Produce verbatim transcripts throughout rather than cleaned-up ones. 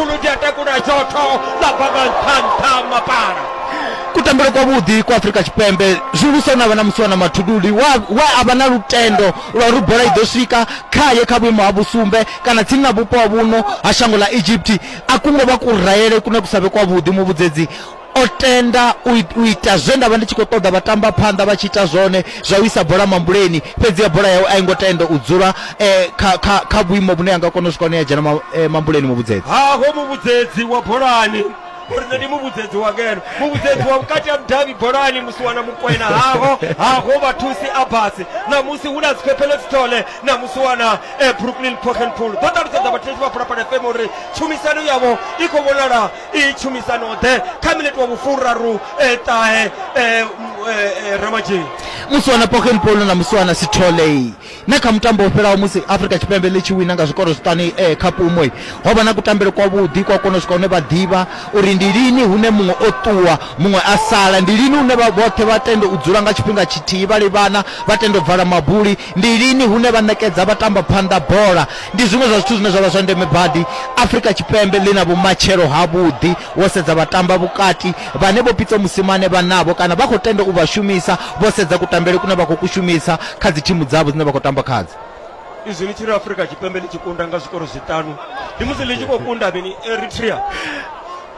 Mathuludi a takula zhotho ḽa bva nga nṱha nṱha mapala. Kutambele kwavhuḓi kwa Afrika Tshipembe zwihulusa na vha na Musiwana Mathuludi wa wa a vha na lutendo lwa uri bola i ḓo swika khaye kha vhuimo ha vhusumbe kana tsini na vhupo ha vhuno ha shango ḽa Egypt. A kungo vha kurayele kune kusavhe kwavhuḓi. Muvhudzedzi o tenda u ita zwe nda vha ndi tshi khou ṱoḓa vhatamba phanḓa vha tshi ita zwone zwa u isa bola mambuleni, fhedzi ya bola yawe a i ngo tenda u dzula eh, kha, kha, kha vhuimo vhune a nga kona u swika hune ya dzhena ma, eh, mambuleni. Muvhudzedzi haho muvhudzedzi wa bolani uri nṋe ndi muvhudzedzi wa ngeno, muvhudzedzi wa vhukati ha mudavhi bolani Musiwana Mukwena haho haho vhathusi Abasi ṋamusi hu na Zwiphephelo Sithole na Musiwana eh, Brooklyn Pochenpool. Ḓo ṱalutshedza vhathetshelesi vha Phalaphala F M uri tshumisano yavho i khou vhonala i tshumisano ḓe kha minete wa vhufuraru eh, ṱahe eh, eh, Ramadzhii. Musiwana Pochenpool na Musiwana Sithole na kha mutambo wo fhelaho musi Afrika Tshipembe ḽi tshi wina nga zwikoro zwiṱanu eh, kha Pumwe, ho vha na kutambele kwavhuḓi kwa kona u swika hune vha ḓivha uri ndi lini hune muṅwe o ṱuwa muṅwe a sala, ndi lini hune vha vhoṱhe vha tenda u dzula nga tshifhinga tshithihi vha livhana vha tenda u vala mabuli, ndi lini hune vha ṋekedza vha tamba phanḓa bola. Ndi zwiṅwe zwa zwithu zwine zwa vha zwa ndeme badi. Afrika Tshipembe ḽi na vhumatshelo havhuḓi wo sedza vhatamba vhukati vhane vho Pitso Mosimane vha navho kana vha khou tenda u vha shumisa vho sedza kutambele kune vha khou kushumisa kha dzi thimu dzavho dzine vha khou tamba khadzo. Izwi ni tshi ri Afrika Tshipembe ḽi tshi kunda nga zwikoro zwiṱanu ndi musi ḽi tshi khou kunda mini? Eritrea.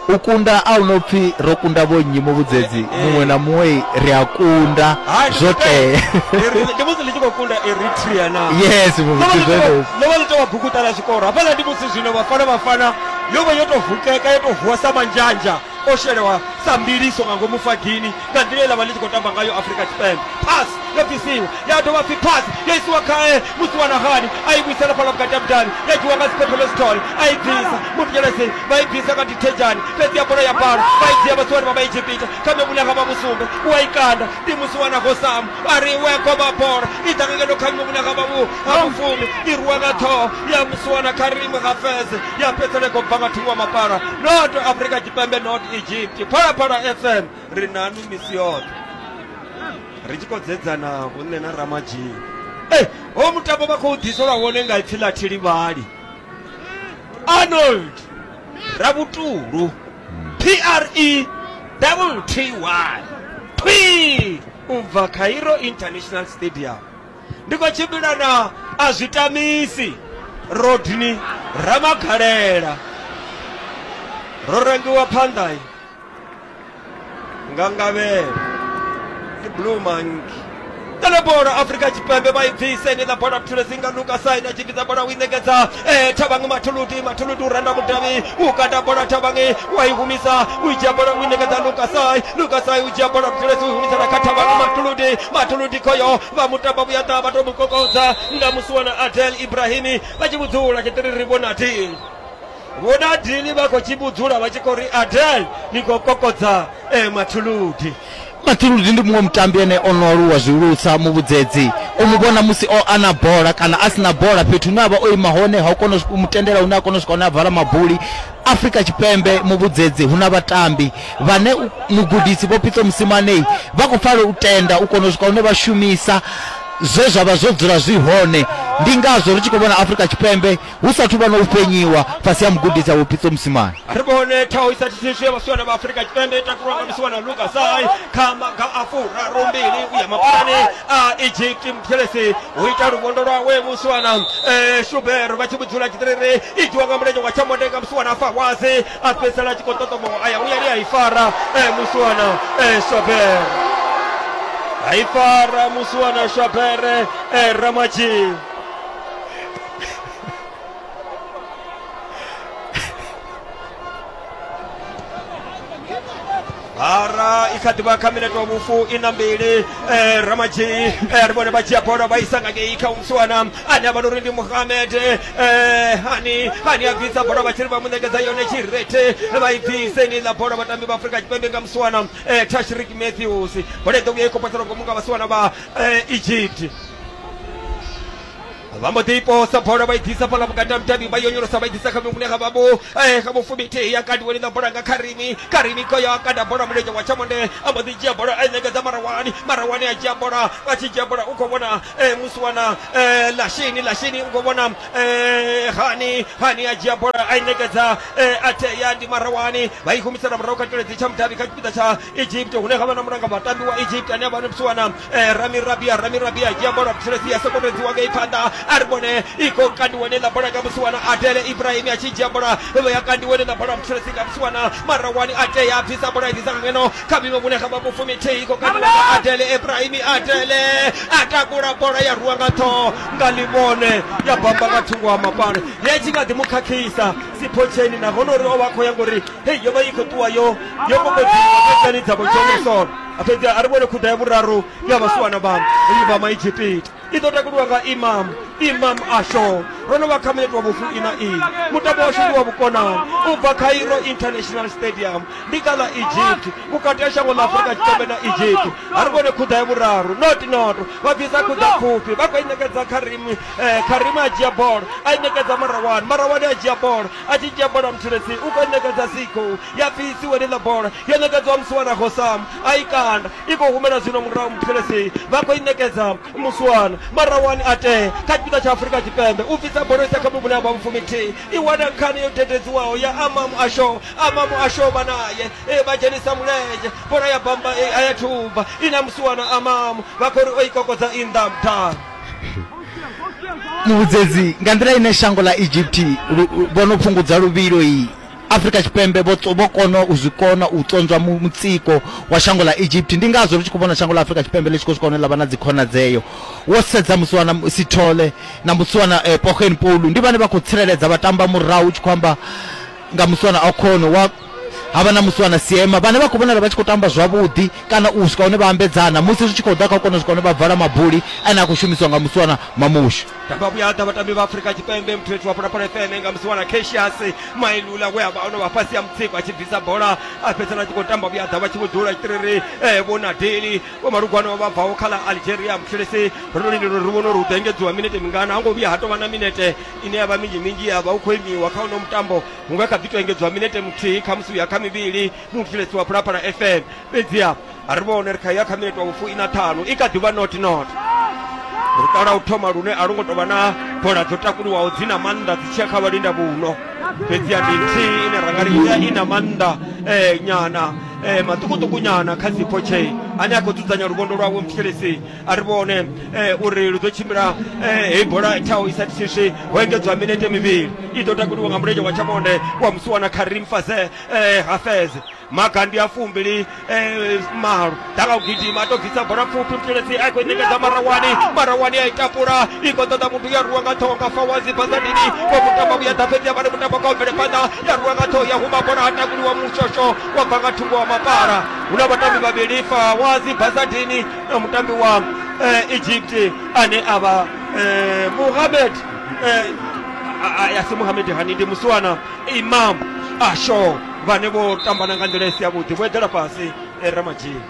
U kunda a hu no pfi ro kunda vho nnyi muvhudzedzi, muṅwe na muṅwe ri a kunda zwo tea. Ndi musi ḽi tshi khou kunda Eritrea na. Yes, muvhudzedzi zwenezwo. Ḽo vha ḽi tou vha bukuṱa ḽa zwikoro hafhaḽa. Ndi musi zwino Bafana Bafana yo vha yo tou vukeka, yo tou vuwa sa manzhanzha o shelewa sa mbiliso nga ngomu fagini nga nḓila ye ḽa vha ḽi tshi khou tamba ngayo Afrika Tshipembe. Pass yo bvisiwa ya dovha pfi pass yo isiwa khae Musiwana Hani a i vhuisela fhaḽa vhukati ha mudavhi ya dzhiwa nga Siphephelo Sithole a i bvisa Muthelesi vha i bvisa nga Dithejani fhedzi ya bola ya bala vha i dzhia vhasiwana vha Vhaegipita kha vhune ha vha vhusumbe u a i kanda ndi Musiwana Gosamu a ri we goba bola i ḓa nga ngeno kha vhune ha vha ha vhufumi i rwiwa nga ṱhoho ya Musiwana Karim Hafez ya fhedzisela i khou bva nga thungo wa mapala. Not Afrika Tshipembe, not Egypt. Phalaphala F M ri nanu misi yoṱhe ri tshi khou dzedzana vho nṋe na Ramadzhii. Eh, ho mutambo vha khou ḓiselwa wone nga ipfi ḽa Thilivhali Arnold Ravhutulu P R E T T Y P u bva Cairo International Stadium. Ndi khou tshimbila na a zwi tamisi Rodney Ramagalela ro rengiwa phanḓa nga ngavhelo ndi Blue Monkey. Tele bola Afrika Tshipembe vha i bvise ni ḽa bola Mthulesi nga Luka Saina tshi bvisa bola u i ṋekedza eh, Thabang Mathuludi. Mathuludi u randa mudavhi u kanda bola Thabang wa i humisa u i dzhia bola u i ṋekedza Luka Sai. Luka Sai u dzhia bola Mthulesi u i humisela kha Thabang Mathuludi. Mathuludi khoyo vha mutamba vhuyaḓa vha tou mu kokodza nga Musiwana Adel Ibrahimi vha tshi vhudzula tshiṱiriri vho Nadine. Vho Nadine vha khou tshi vhudzula vha tshi khou ri Adel ni khou kokodza eh, Mathuludi. Mathuludi ndi muṅwe mutambi ene o no aluwa zwihulusa muvhudzedzi. U mu vhona musi o ana bola kana a sina bola fhethu hune a vha o ima hone ha u kona u mu tendela hune a kona u swika hune a vala mabuli. Afrika Tshipembe muvhudzedzi hu na vhatambi vhane mugudisi Vho Pitso Mosimane vha khou fanela u tenda u kona u swika hune vha shumisa zwe zwa vha zwo dzula zwi hone. Ndi ngazwo ri tshi khou vhona Afrika Tshipembe hu sathu vha na u fhenyiwa fhasi ha mugudisi Vho Pitso Mosimane. Ri vhone thaho i sa thithiswi ya vhasiwana vha Afrika Tshipembe i takulwa nga Musiwana Luka Sai kha maga a furaru mbili u ya mapulani a Egypt. Mthelesi u ita luvhondo lwawe Musiwana eh, Shuber vha tshi vhudzula tshiṱiriri i dzhiwa nga mulenzhe wa tshamonde nga Musiwana Fawazi a fhedzisela a tshi khou ṱoṱomowa a ya vhuyani a i fara eh, Musiwana eh, Shuber a i fara Musiwana Shuber eh, Ramadzhii. Hara i kha ḓivha kha minete wa vhufu ina mbili eh, Ramadzhii eh, ri vhone vha dzhia bola vha isa nga ngei kha Musiwana ane a vha uri ndi Muhamed eh, hani hani a bvisa bola vha tshi ri vha mu ṋekedza yone tshirethe vha i bvise ni ḽa bola vhatambi vha Afrika Tshipembe nga Musiwana eh, Tashrik Matthews. Bola i ḓo vhuya i khou poselwa ngomu nga vhasiwana vha eh, Egypt. Vha mbo ḓi posa bola vha i ḓisa fhaḽa vhukati ha mudavhi vha yonyolosa vha i ḓisa kha mihumbulo ya vhavho eh, kha vhufumithihi ya kandiweni ḽa bola nga Karimi. Karimi khoyo a kanda bola mulenzhe wa tshamonde a mbo ḓi dzhia bola a i ṋekedza Marawani. Marawani a dzhia bola, a tshi dzhia bola u khou vhona eh, musiwana eh, Lashini. Lashini u khou vhona eh, Hani. Hani a dzhia bola a i ṋekedza eh, Ateya ndi Marawani. Vha i humisela murahu kha tshiledzi tsha mudavhi kha tshipiḓa tsha Egypt hune ha vha na mulanga vhatambi wa Egypt ane a vha musiwana eh, Rami Rabia. Rami Rabia a dzhia bola tshiledzi ya sokotodziwa ngei phanḓa. A ri vhone i khou kandiwa ḽa bola nga musiwana Adele Ibrahim a tshi dzhia bola ya kandiwa ḽa bola muthelesi nga musiwana Marawani. A tea a bvisa bola i ḓisa ngeno kha vhuimo vhune ha vha vhufumithihi i khou kandiwa nga Adele Ibrahim. Adele a takula bola ya rwiwa nga ṱhoho nga ḽivhone ya bamba nga thungo ha mapale. Ya tshi nga ḓi mu khakhisa Siphotsheni nahone uri o vha khou ya ngori hei yo vha i khou ṱuwa yo yo kokodziwa fhedzani dza vho Johnson. Fhedzi a ri vhone khuḓa ya vhuraru ya vhasiwana vha vha Maegypita i ḓo takuliwa nga Imam Imam Asho. Ro no vha kha minete wa vhufu ina ina. Mutambo washu ndi wa vhukonani u bva Cairo International Stadium ndi kha ḽa Egypt vhukati ha shango ḽa Afrika Tshipembe na Egypt. A ri vhone khuḓa ya vhuraru not not vha bvisa khuḓa pfufhi vha khou i ṋekedza Karim. eh, Karim a dzhia bola a i ṋekedza Marawani. Marawani a dzhia bola a tshi dzhia bola muthelesi u khou i ṋekedza Siko ya bvisiwa ḽa bola yo ṋekedzwa musiwana Hosam a i kanda i khou humela zwino murahu muthelesi vha khou i ṋekedza musiwana Marawani a tea kha tshipiḓa tsha Afrika Tshipembe u bvisa bola isa kha vhuvhune ha vha vhufumithihi i wana nkhani yo dededziwaho ya Amamu Asho. Amamu Asho vha naye e, vha dzhenisa mulenzhe bola ya bamba e, a ya thubva ina musiwana Amamu vha khou ri o i kokodza i nnḓa muthala. Muvhudzedzi nga nḓila ine shango ḽa Egypt vho no fhungudza luvhilo i Afrika Tshipembe vho vho kona u zwi kona u ṱonzwa mutsiko wa shango ḽa Egypt. Ndi ngazwo ri tshi khou vhona shango ḽa Afrika Tshipembe ḽi tshi khou swika hune ḽa vha na dzikhonadzeo. Wo sedza musiwana Sithole na musiwana eh, Pogen Polu ndi vhane vha khou tsireledza vhatamba murahu, u tshi khou amba nga musiwana Okhono wa havha na musiwana Siema vhane vha khou vhonala vha tshi khou tamba zwavhuḓi kana u swika hune vha ambedzana musi zwi tshi khou ḓa kha u kona u swika hune vha vala mabuli ane a khou shumiswa nga musiwana Mamushu. Tamba vhuya ḓa vhatambi vha Afrika Tshipembe muthethu wa Phalaphala F M nga musiwana Cassius Mailula we a vha ono vha fhasi ya mutsiko a tshi bvisa bola a fhedzisela a tshi khou tamba vhuya ḓa vha tshi vho dzula tshitiriri eh, vho Nadeli vho Malugwana vha bvaho kha ḽa Algeria. Muthelesi ro no lindela uri ri vhone uri hu ḓo engedziwa minete mingana, ha ngo vhuya ha tou vha na minete ine ya vha minzhi minzhi ya vha u khou imiwa kha uno mutambo, hu nga kha ḓi tou engedziwa minete muthihi khamusi uya kha mivhili muthelesi wa Phalaphala F M. Fhedziha a ri vhone ri kha ya kha minete wa vhufu ina ṱhanu i kha ḓivha not not. Luṱa lwa u thoma lune a lu ngo tou vha na bola dzo takuliwaho dzi na maanḓa dzi tshiya kha vhalinda vhuno, fhedziha ndi nthihi ine ra nga ri i na maanḓa eh, nyana eh, maṱukuṱuku nyana kha Sipho Che ane a khou dzudzanya luvhondo lwawe muthelesi. A ri vhone eh, uri lu ḓo tshimbila eh, hei bola thaho i sa thithiswi. Ho engedzwa minete mivhili i ḓo takuliwa nga mulenzhe wa tshamonde wa musiwana Karim Faze eh, Hafez. Maga ndi a fumbili eh, malo ḓa nga u gidima a tou bvisa bola pfufhi muthelesi a khou i ṋekedza Marawani. Marawani a i tapula i khou ṱoḓa muthu ya rwiwa nga ṱhoho nga Fawazi Bazadini wa mutamba vhuya ḓa fhedzi ya vha ri mutambo kha u bvele phanḓa ya rwiwa nga ṱhoho ya huma bola ha takuliwa mushosho wa bva nga thungo wa mapala. Hu na vhatambi vhavhili Fawazi Bazadini na mutambi wa eh, Egypt ane a vha eh, Mohamed eh, a si Mohamed Hani ndi musiwana Imam Asho vhane vho tambana nga nḓila i si yavhuḓi vho eḓela fhasi eh, Ramadzhii.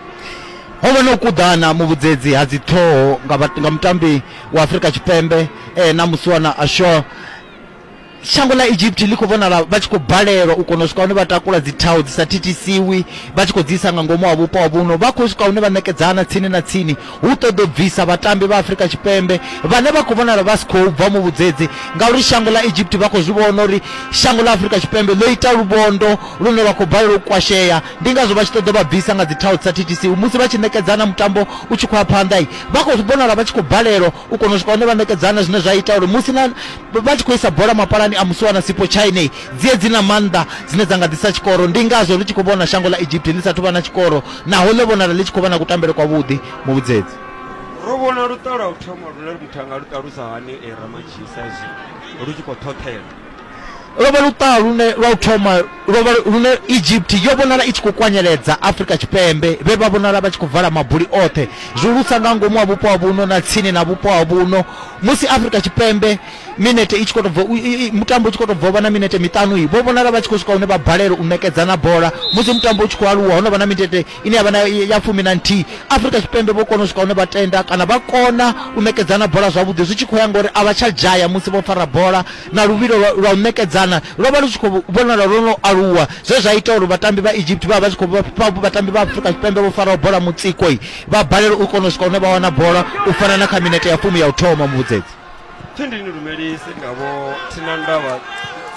Ho vha na u kuḓana muvhudzedzi ha dziṱhoho nga, nga mutambi wa Afrika Tshipembe eh, na musiwana Asho. Shango ḽa Egypt ḽi khou vhonala vha tshi khou balelwa u kona u swika hune vha takula dzithaho dzi sa thithisiwi vha tshi khou dzi isa nga ngomu ha vhupo ha vhuno, vha khou swika hune vha ṋekedzana tsini na tsini hu ṱoḓo bvisa vhatambi vha Afrika Tshipembe vhane vha khou vhonala vha si khou bva muvhudzedzi, ngauri shango ḽa Egypt vha khou zwi vhona uri shango ḽa Afrika Tshipembe ḽo ita luvhondo lune lwa khou balelwa u kwashea. Ndi ngazwo vha tshi ṱoḓa vha bvisa nga dzithaho dzi sa thithisiwi musi vha tshi ṋekedzana mutambo u tshi khou ya phanḓa, vha khou vhonala vha tshi khou balelwa u kona u swika hune vha ṋekedzana, zwine zwa ita uri musi na vha tshi khou isa bola mapalani a musiwana Sipho Chaine dzie dzi na maanḓa dzine dza nga ḓisa tshikoro. Ndi ngazwo ri tshi khou vhona shango ḽa Egypt ḽi sathu vha na tshikoro naho ḽo vhonala ḽi tshi khou vha na kutambele kwavhuḓi muvhudzedzi. Ro vhona luṱa lwa u thoma lune muthu anga lu ṱalusa hani e Ramadzhii sa izwi lu tshi khou ṱhoṱhela? Lwo vha luṱaha lune lwa u thoma lwo vha lune Egypt yo vhonala i tshi khou kwanyeledza Afrika Tshipembe, vhe vha vhonala vha tshi khou vala mabuli oṱhe, zwihulusa nga ngomu ha vhupo ha vhuno na tsini na vhupo ha vhuno. Musi Afrika Tshipembe minete i tshi khou tou bva, mutambo u tshi khou tou bva u vha na minete miṱanu, vho vhonala vha tshi khou swika hune vha balelwa u ṋekedzana bola. Musi mutambo u tshi khou aluwa, ho no vha na minete ine ya vha na ya fumi na nthihi, Afrika Tshipembe vho kona u swika hune vha tenda kana vha kona u ṋekedzana bola zwavhuḓi, zwi tshi khou ya ngori a vha tsha dzhaya musi vho fara bola, na luvhilo lwa u ṋekedzana lwo vha lu tshi khou vhonala lwo no aluwa, zwe zwa ita uri vhatambi vha Egypt vha vha tshi khou vhatambi vha Afrika Tshipembe vho faraho bola mutsiko vha balelwa u kona u swika hune vha wana bola u fana na kha minete ya fumi ya u thoma. Muvhudzedzi pfi ndi ni lumelise nga vho Thinandavha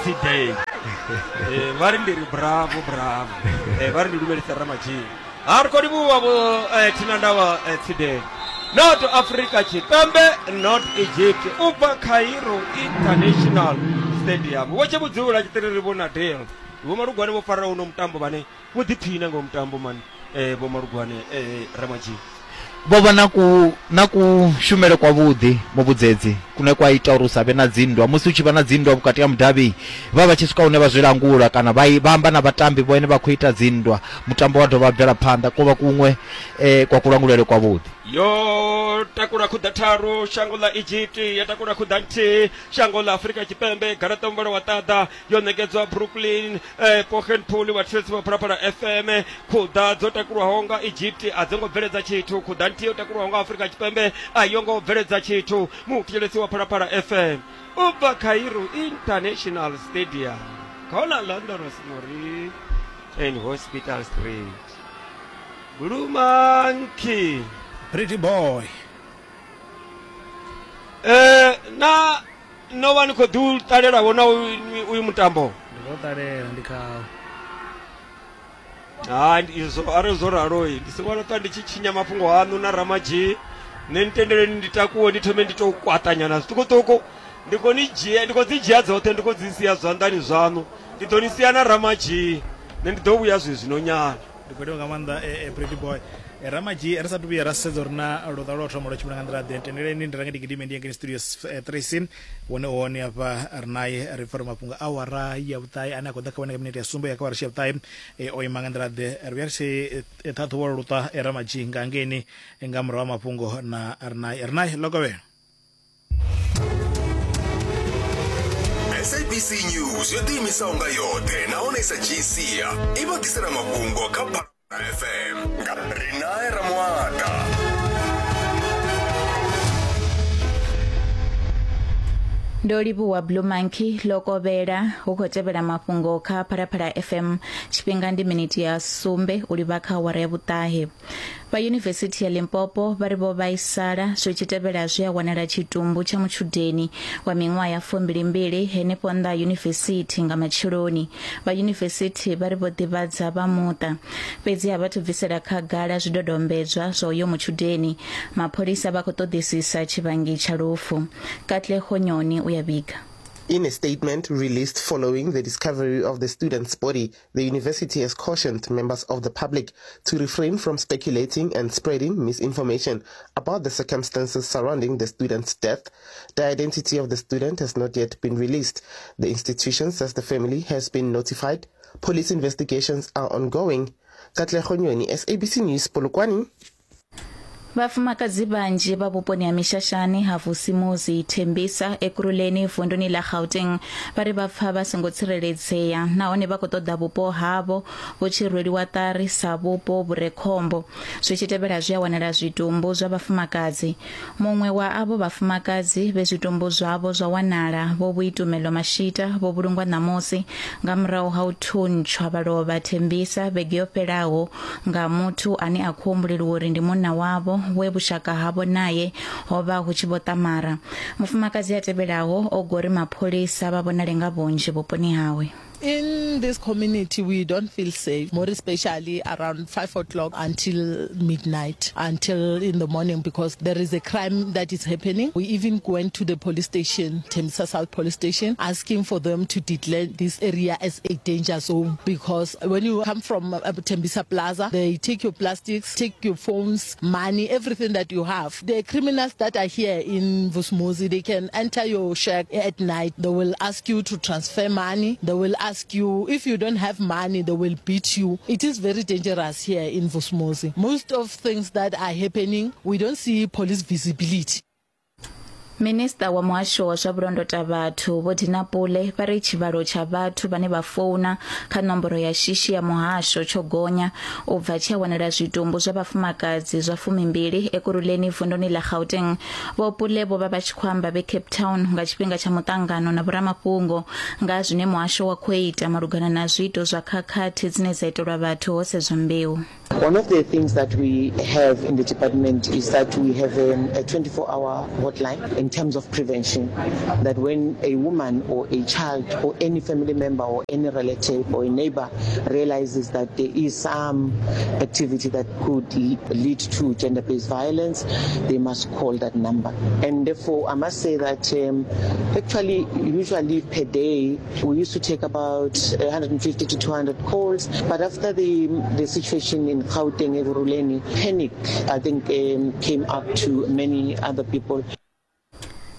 Tsidei, eh vha ri ndi ri bravo bravo, eh vha ri ndi lumelise Ramadzhii. Ha ri khou livhuwa vho Thinandavha Tsidei. Not Afrika Tshipembe, not Egypt, u bva Cairo International Stadium. Vho tshe vhudzula tshiṱiriri vho na deal. Vho Malugwane vho fara uno mutambo vhane vho ḓiphina nga mutambo mani, eh vho Malugwane eh Ramadzhii. Vho vha na ku na kushumele kwavhuḓi muvhudzedzi kune kwa ita uri u sa vhe na dzinndwa. Musi u tshi vha na dzinndwa vhukati ha mudavhi, vha vha tshi swika hune vha zwi langula kana vha vha amba na vhatambi vhone vha khou ita dzinndwa, mutambo wa dovha bvela phanḓa. Ko vha kuṅwe eh, kwa kulangulele kwavhuḓi. Yo takula khuḓa tharu shango ḽa Egypt, ya takula khuḓa nthihi shango ḽa Afrika Tshipembe. Garaṱa muvhala wa ṱaḓa yo ṋekedzwa Brooklyn eh, Pochenpool wa Chelsea wa Phalaphala F M. Khuḓa dzo takulwaho nga Egypt a dzo ngo bveledza tshithu, khuḓa nthihi yo takulwaho nga Afrika Tshipembe a yo ngo bveledza tshithu. Muthetshelesi wa Phalaphala F M u bva Cairo International Stadium, khona London Mori and Hospital Street. Blue Monkey, Pretty boy. Eh na no vha ni khou ḓi ṱalela vhona uyu mutambo? Ndi khou ṱalela, ndi kha ha izwo arali zwo ralo ndi songo ṱwa ndi tshi tshinya mafhungo aṋu na Ramadzhii. Nṋe ntendeleni ndi takuwe ndi thome ndi tou kwaṱanyana zwiṱukuṱuku. Ndi khou ni dzhia, ndi khou dzi dzhia dzoṱhe, ndi khou dzi sia zwanḓani zwaṋu. Ndi ḓo ni sia na Ramadzhii, nṋe ndi ḓo vhuya zwezwino nyana. Ndi khou livhuwa nga maanḓa Pretty boy. Ramadzhii, ri sathu vhuya ra sedza uri na luṱa lwa u thoma lwo tshimbila nga nḓila ḓe, tendeleni ndi range ndi gidime ndi ye ngei studio three C wone hone hafha ri naye ri pfha uri mafhungo awara ya vhuṱahe ane a khou ḓa kha vhone nga minete ya sumbe ya kha awara ya vhuṱahe o ima nga nḓila ḓe. Ri vhuya ri tshi ṱhaṱhuvha luṱa Ramadzhii nga ngeini nga murahu ha mafhungo na ri naye. Ri naye lokovhela. S A B C News yo ḓiimisaho nga yoṱhe nahone i sa dzhii sia i vha ḓisela mafhungo kha F M nga Rinae Ramuata. Ndo livhuwa Blue Monkey lokovhela hu khou tevhela mafhungo kha Phalaphala F M. Tshifhinga ndi miniti ya sumbe u livha kha awara ya vhuṱahe. Vha Yunivesithi ya Limpopo vha ri vho vhaisala zwi tshi tevhela zwi a wanala tshitumbu tsha mutshudeni wa miṅwaha ya fumbilimbili henefho nnḓa ha yunivesithi nga matsheloni. Vha yunivesithi vha ri vho ḓivhadza vha muṱa, fhedzi a vha thu bvisela khagala zwidodombedzwa zwa uyo mutshudeni. Mapholisa vha khou ṱoḓisisa tshivhangi tsha lufu. Katlego Nyoni u ya vhiga. In a statement released following the discovery of the student's body, the university has cautioned members of the public to refrain from speculating and spreading misinformation about the circumstances surrounding the student's death. The identity of the student has not yet been released. The institution says the family has been notified. Police investigations are ongoing. Katlego Nyoni, S A B C News, Polokwane. Vhafumakadzi vhanzhi vha vhuponi ha Mishashani ha Vusimuzi Thembisa Ekurhuleni vunduni ḽa Gauteng vha ri vha pfa vha songo tsireledzea nahone vha khou ṱoḓa vhupo havho vhu tshi rweliwa ṱari sa vhupo vhu re khombo, zwi tshi tevhela zwi a wanala zwitumbu zwa vhafumakadzi. Muṅwe wa avho vhafumakadzi vhe zwitumbu zwavho zwa wanala vho Vhuitumelo Mashita vho vhulungwa ṋamusi nga murahu ha u thuntshwa vha lovha Thembisa vhege yo fhelaho nga muthu ane a khou humbuleliwa uri ndi munna wavho we vhushaka havho naye ho vha hu tshi vho ṱamara. Mufumakadzi a tevhelaho o gori mapholisa vha vhonale nga vhunzhi vhuponi hawe. In this community, we don't feel safe, more especially around five o'clock until midnight, until in the morning, because there is a crime that is happening. We even went to the police station, Tembisa South Police Station, asking for them to declare this area as a danger zone, because when you come from uh, Tembisa Plaza, they take your plastics, take your phones, money, everything that you have. The criminals that are here in Vusumuzi, they can enter your shack at night. They will ask you to transfer money. They will ask you, if you don't have money, they will beat you. It is very dangerous here in Vusumuzi. Most of things that are happening, we don't see police visibility. Minista wa muhasho wa zwa vhulondota vhathu Vho Dina Pule vha ri tshivhalo tsha vhathu vhane vha founa kha nomboro ya shishi ya muhasho tsho gonya u bva tshi a wanala zwitumbu zwa vhafumakadzi zwa fumimbili Ekurhuleni vunduni ḽa Gauteng. Vho Pule vho vha vha tshi khou amba vhe Cape Town nga tshifhinga tsha muṱangano na vhoramafhungo nga zwine muhasho wa khou ita malugana na zwiito zwa khakhathi dzine dza itelwa vhathu ho sedzwa mbeu. One of the things that we have in the department is that we have a twenty-four hour hotline in terms of prevention, that when a woman or a child or any family member or any relative or a neighbor realizes that there is some activity that could lead to gender-based violence, they must call that number. And therefore, I must say that um, actually, usually per day, we used to take about one hundred fifty to two hundred calls, but after the, the situation in Gauteng, Ekurhuleni, panic, I think, um, came up to many other people.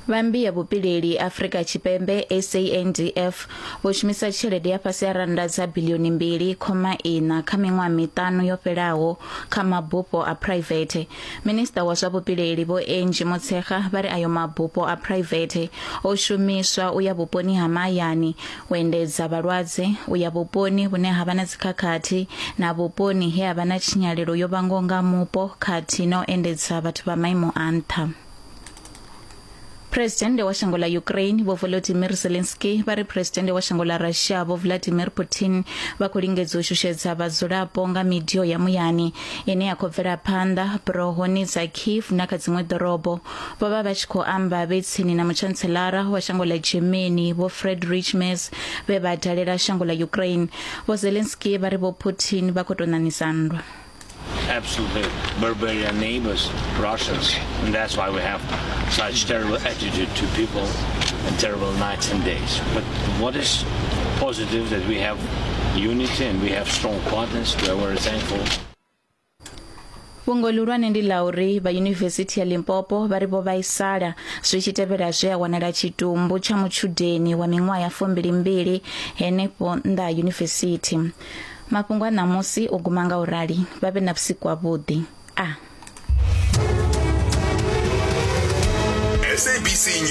Vha ya vhupileli Afrika Tshipembe S A N D F vho shumisa tshelede ya fhasi ha rannda dza bilioni mbili khoma ina kha miṅwaha miṱanu yo fhelaho kha mabufho a private. Minista wa zwa vhupileli Vho Angie Motshekga vha ri ayo mabufho a private o shumiswa u ya vhuponi ha mahayani u endedza vhalwadze, u ya vhuponi vhune ha vha na dzikhakhathi na vhuponi he ha vha na tshinyalelo yo vhangwaho nga mupo khathihi na u endedza vhathu vha maimo a nṱha. President wa shango ḽa Ukraine Vho Volodymyr Zelensky vha ri President wa shango ḽa Russia Vho Vladimir Putin vha khou lingedza u shushedza vhadzulapo nga midio ya muyani ine ya khou bvela phanḓa burohoni dza Kiev na kha dziṅwe ḓorobo. Vho vha vha tshi khou amba vhe tsini na muchantselara wa shango ḽa Germany Vho Friedrich Merz vhe vha dalela shango ḽa Ukraine. Vho Zelensky vha ri Vho Putin vha khou tou ṋaṋisa nndwa. Absolutely barbarian neighbors, Russians, and that's why we have such terrible attitude to people and terrible nights and days. But what is positive that we have unity and we have strong partners. We are very thankful. Fhungo ḽihulwane ndi ḽa uri vha Yunivesithi ya Limpopo vha ri vho vhaisala zwi tshi tevhela zwe a wanala tshitumbu tsha mutshudeni wa miṅwaha ya fumbilimbili henefho nnḓa ha yunivesithi. Mafhungo a ṋamusi o guma nga u rali, vha vhe na vhusiku havhuḓi. A S A B C News.